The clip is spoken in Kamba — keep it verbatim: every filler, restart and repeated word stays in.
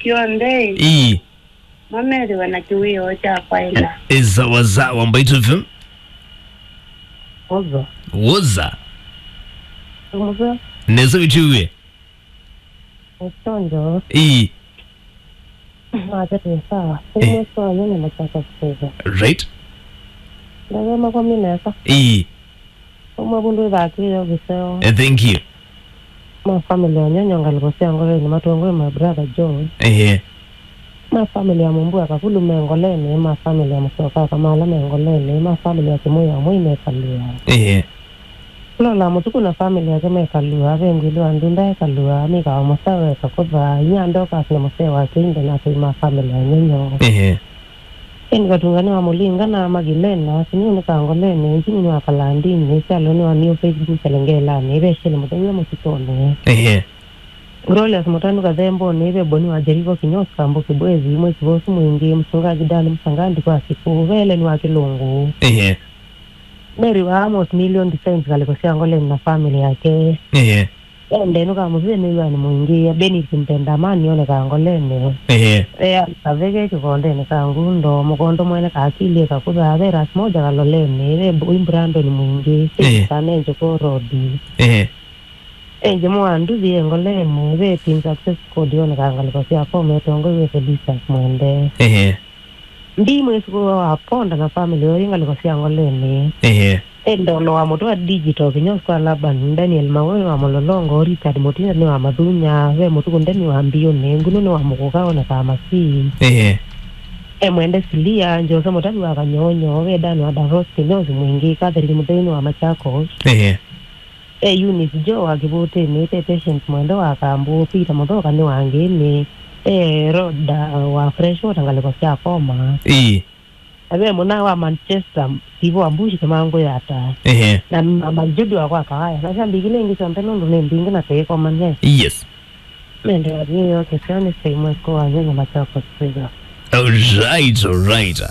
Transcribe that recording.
Yonthe. Ii. Mamethĩwe na kĩwĩoo kya kwaĩla. Ĩ sawa sawa, Mbaitũ F M. Oza. Woza. Oza. Nesa wĩtĩwe. Ũsonjo. Ii. Nake twĩ sawa. Ĩ. Ĩmwe sawa, nyanya mataka kũseva. Right. Ndagema kwa minesa. Ii. Ũmwe vundu ĩthakĩĩo kĩseo. Eh, thank you. Ma family ya Nyonyo ngalĩko sya Ngoleni matongoi my brother John. Ehe. Ma family ya Mumbua Kakulu me Ngoleni, ma family ya Musoka Kamala me Ngoleni, ma family ya Kimui ya Mui me Kalua. Ehe. Lola Mutuku na family yake me Kalua, ve ngwili wa Ndunda e Kalua, Mika wa Musawe Kakutha, inya Ndokas na musee wa Kinde na atei ma family ya Nyonyo. Ehe. Ĩndĩ Katungani wa Mũlinga na Magilena, Siniu nĩ Kangoleni, Njini nĩ wa Kalandini, Kyalo nĩ wa New Facebook Kalengelani, Ivesheli Mũthenya Mũsitũnĩ. Ehe. Glorious Mũtanu Kathembũnĩ, Iveboni wa Jeriko Kinyosi Kambu Kibwezi, Mwĩki Vosu Mwingi, Mchungaji Dan Msangandi kwa Siku, Veleni wa Kĩlũngũ. Ehe. Mary wa Amos Million Designs ngalĩko sya Ngoleni na family yake. Ehe. Ende nũkamũsĩe nĩ wĩanĩ mũingĩ, Benedict Mpenda amani onekaa Ngoleni. Ehe. Ea kaveke kĩkondenĩ ka Ngundo, mũkondo mwene kakilye kakuthaa, ve Rasmoja Kaloleni, ve Boi Brandon Mwingi, Ehe. Sĩkane Njũkũ Road. Ehe. Enje mwa nduthi e Ngoleni, ve Team Success Code onekaa ngalĩko sya Kome, tongoi wĩ Felicius Mwende. Ehe. Ndi mwĩsukũwa wa Ponda na family yoyu ngalĩko sya Ngoleni. Ehe. Ĩ Ndono wa mũtwe wa digital, Kinyosi kwa Laban, Daniel Mawe wa Mũlolongo, Richard Mũtinda nĩ wa Mathunya, ve Mũtuku Ndemi wa Mbiũnĩ, Ngunu nĩ wa Mũkũka onekaa Masii. Ehe. E Mwende Silia, Njose Mũtavi wa Kanyonyo, ve Dan wa Davos, Kinyosi Mwingi, Catherine Mũthei nĩ wa Machakos. Ehe. E Eunice Joe wa Kĩvũtĩnĩ, e Patience Mwende wa Kambu, Peter Mũthoka nĩ wa Ngĩnĩ, e Rhoda wa Freshwater ngalĩko sya Koma. Ii. Na ve mũna wa Manchester, Steve wa Mbushi Kĩmangũ Yata. Ehe. Na mama Judy wa kwa Kawaya. Na sya mbingine ingĩ syonthe nũndũ nĩ mbingĩ na tũikomany'a. Yes. Mende wa thĩ yoke sya nĩ sya imwe kwa nyanya Machakos Trigger. All right, all right.